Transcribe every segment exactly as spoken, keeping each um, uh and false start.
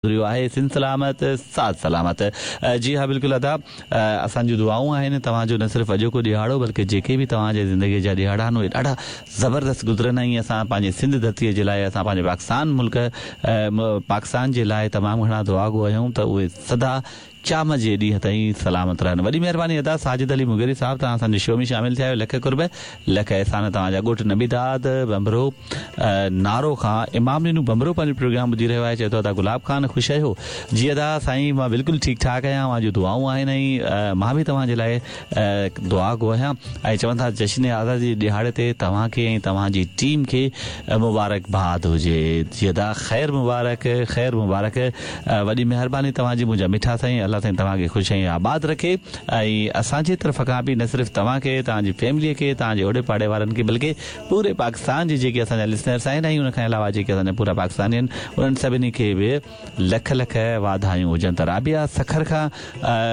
गुज़रियो आहे। सिंध सलामत, साथ सलामत। जी हा, बिल्कुलु अदा, असांजूं दुआऊं आहिनि, तव्हांजो न सिर्फ़ु अॼोको ॾिहाड़ो बल्कि जेके बि तव्हांजे ज़िंदगीअ जा ॾिहाड़ा आहिनि, उहे ॾाढा ज़बरदस्त गुज़रनि ऐं असां पंहिंजे सिंध धरतीअ जे लाइ, असां पंहिंजे पाकिस्तान मुल्क, पाकिस्तान जे लाइ तमामु घणा दुआ गो आहियूं त उहे सदा क़यामत जे ॾींहं ताईं सलामत रहनि। वॾी महिरबानी अदा साजिद अली मुगेरी साहिबु, तव्हां असांजे शो में शामिल थिया आहियो। लख कुर्ब, लख अहसान तव्हांजा। ॻोठ नबीदाद बंबरो नारो खां इमाम ॾिनो बंबरो पंहिंजो प्रोग्राम ॿुधी रहियो आहे। चए थो, अदा गुलाब खान, ख़ुशि आहियो? जी अदा साईं, मां बिल्कुलु ठीकु ठाक आहियां, तव्हां जूं दुआऊं आहिनि ऐं मां बि तव्हांजे लाइ दुआ गो आहियां। ऐं चवनि था, जश्न आज़ादी जे ॾिहाड़े ते तव्हांखे ऐं तव्हांजी टीम खे मुबारकबाद हुजे। जी अदा, ख़ैर मुबारक, ख़ैर मुबारक। वॾी महिरबानी तव्हांजी मुंहिंजा मिठा साईं। अलाह साईं तव्हांखे ख़ुशि ऐं आबाद रखे ऐं असांजे तरफ़ खां बि न सिर्फ़ु तव्हांखे, तव्हांजी फैमिलीअ खे, तव्हांजे ओड़े पाड़े वारनि खे, बल्कि पूरे पाकिस्तान जे जेके असांजा लिसनर्स आहिनि ऐं उन खां अलावा जेके असांजा पूरा पाकिस्तानी आहिनि, उन्हनि सभिनी खे बि लख लख वाधायूं हुजनि। त राबिया सखर खां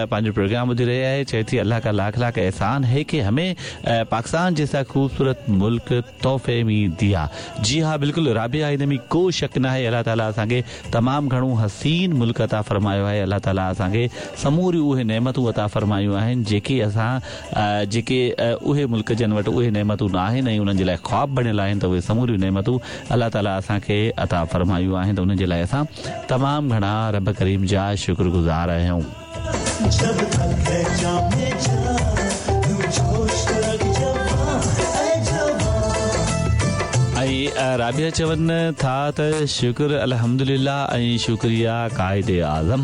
पंहिंजो प्रोग्राम ॿुधी रही आहे। चए थी, अल्लाह का लाख लाख एहसान है कि हमें पाकिस्तान जैसा खूबसूरत मुल्क तोहफ़े में दिया। जी हा, बिल्कुलु राबिया, हिन में को शक न आहे। अलाह ताला असांखे तमामु घणो हसीन मुल्क अता फरमायो आहे। अलाह ताला असांखे समूरियूं उहे नेमतूं अता फरमायूं आहिनि जेके असां जेके उहे मुल्क जन वटि उहे नेमतूं न आहिनि ऐं उन्हनि जे लाइ ख़्वाब बणियल आहिनि, त उहे समूरियूं नेमतूं अलाह ताला असांखे अता फरमायूं आहिनि, त उन्हनि जे लाइ असां तमामु घणा रब करीम जा शुक्रगुज़ार आहियूं। ऐं राबिया चवनि था त शुक्र अल्हम्दुलिल्लाह ऐं शुक्रिया कायदे आज़म।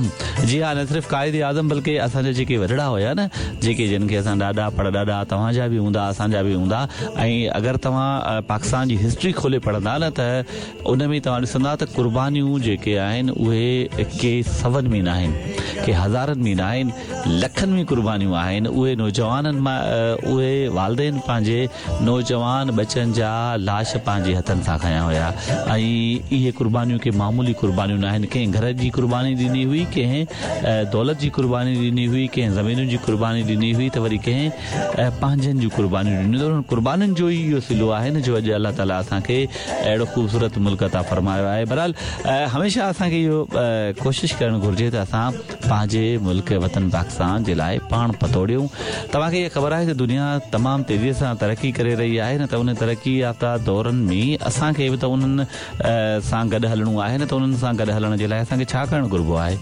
जी हा, न सिर्फ़ु कायदे आज़म बल्कि असांजा जेके वॾड़ा हुया न, जेके जिन खे असां ॾाॾा पड़ॾाॾा, तव्हांजा बि हूंदा, असांजा बि हूंदा, ऐं अगरि तव्हां पाकिस्तान जी हिस्ट्री खोले पढ़ंदा न त उन में तव्हां ॾिसंदा त कुर्बानियूं जेके आहिनि उहे के सवनि में न आहिनि, के हज़ारनि में न आहिनि, लखनि में कुर्बानियूं आहिनि। उहे नौजवाननि मां उहे वालदेन पंहिंजे नौजवान बच्चनि जा लाश पंहिंजे हथनि सां खयां हुया ऐं इहे कुर्बानियूं के मामूली कुर्बानियूं न आहिनि। कंहिं घर जी कुर्बानी ॾिनी हुई, कंहिं दौलत जी कुर्बानी ॾिनी हुई, कंहिं ज़मीनुनि जी कुर्बानी ॾिनी हुई, त वरी कंहिं पंहिंजनि जूं कुर्बानियूं ॾिनियूं। त उन्हनि कुर्बानियुनि जो ई इहो सिलो आहे न जो अॼु अलाह ताला असांखे अहिड़ो ख़ूबसूरत मुल्क अता फरमायो आहे। बहरहाल, हमेशह असांखे इहो कोशिशि करणु घुरिजे त असां पंहिंजे मुल्क वतन पाकिस्तान जे लाइ पाण पतोड़ियूं। तव्हांखे इहा ख़बर आहे त दुनिया तमामु तेज़ीअ सां तरक़ी करे रही आहे न, त उन तरक़ी याफ़्ता दौरनि में असांखे बि त उन्हनि सां गॾु हलणो आहे न, त उन्हनि सां गॾु हलण जे लाइ असांखे छा करणु घुरिबो आहे?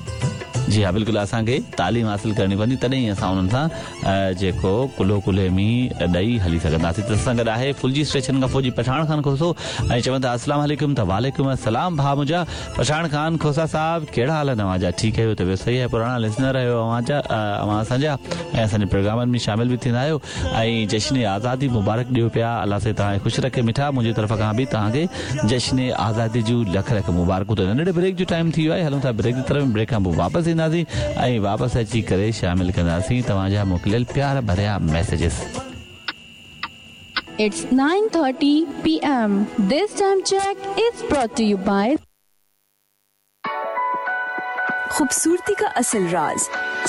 जी हा, बिल्कुलु असांखे तालीम हासिल करणी पवंदी, तॾहिं ई असां उन्हनि सां जेको कुल्हो कुल्हे में ॾेई हली सघंदासीं। त असां गॾु आहे फुलजी स्टेशन खां फौजी पठाण खान खोसो ऐं चवनि था, अस्सलाम वालेकुम। त वालेकुम अस्सलाम भाउ मुंहिंजा पठाण खान खोसा साहिबु, कहिड़ा हाल आहिनि तव्हांजा? ठीकु आहियो? तबियत सही आहे? पुराणा लिसनर आहियो अव्हांजा, अव्हां असांजा ऐं असांजे प्रोग्रामनि में शामिल बि थींदा आहियो ऐं जश्न आज़ादी मुबारक ॾियो पिया। अलाह साईं तव्हांखे ख़ुशि रखे मिठा। मुंहिंजी तरफ़ खां बि तव्हांखे जश्न आज़ादी जूं लख लख मुबारकूं। त नंढड़े ब्रेक जो टाइम थी वियो आहे, हलूं था ब्रेक जी तरफ़। ब्रेक खां पोइ वापसि ईंदासीं ऐं वापसि अची करे शामिल कंदासीं तव्हांजा मोकिलियल प्यार भरिया messages. It's nine thirty P M. This time check is brought to you by खूबसूरती का असल राज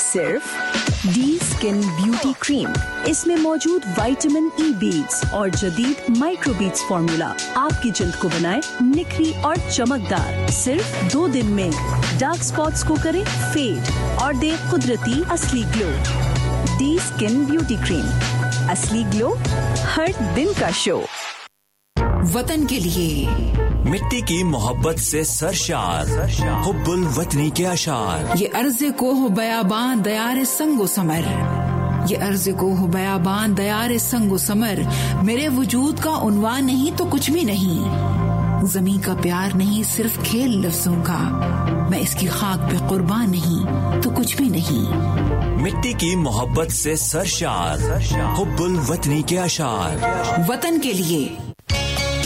सिर्फ डी स्किन ब्यूटी क्रीम। इसमें मौजूद विटामिन ई बीड्स और जदीद माइक्रोबीड्स फार्मूला आपकी जिल्द को बनाए निखरी और चमकदार। सिर्फ दो दिन में डार्क स्पॉट्स को करे फेड और दे कुदरती असली glow. D skin beauty cream, असली ग्लो हर दिन का शो। वतन के लिए मिट्टी की मोहब्बत से सरशार, हुब्बुल वतनी के अशार। ये अर्ज़ को हो बयाबान दयार संगो समर, ये अर्ज़ को हो बयाबान दयार संगो समर, मेरे वजूद का उन्वान नहीं तो कुछ भी नहीं। जमीन का प्यार नहीं सिर्फ खेल लफ्जों का, मैं इसकी खाक पे कुर्बान नहीं तो कुछ भी नहीं। मिट्टी की मोहब्बत से सरशार, हुब्बुल वतनी के अशार। वतन के लिए।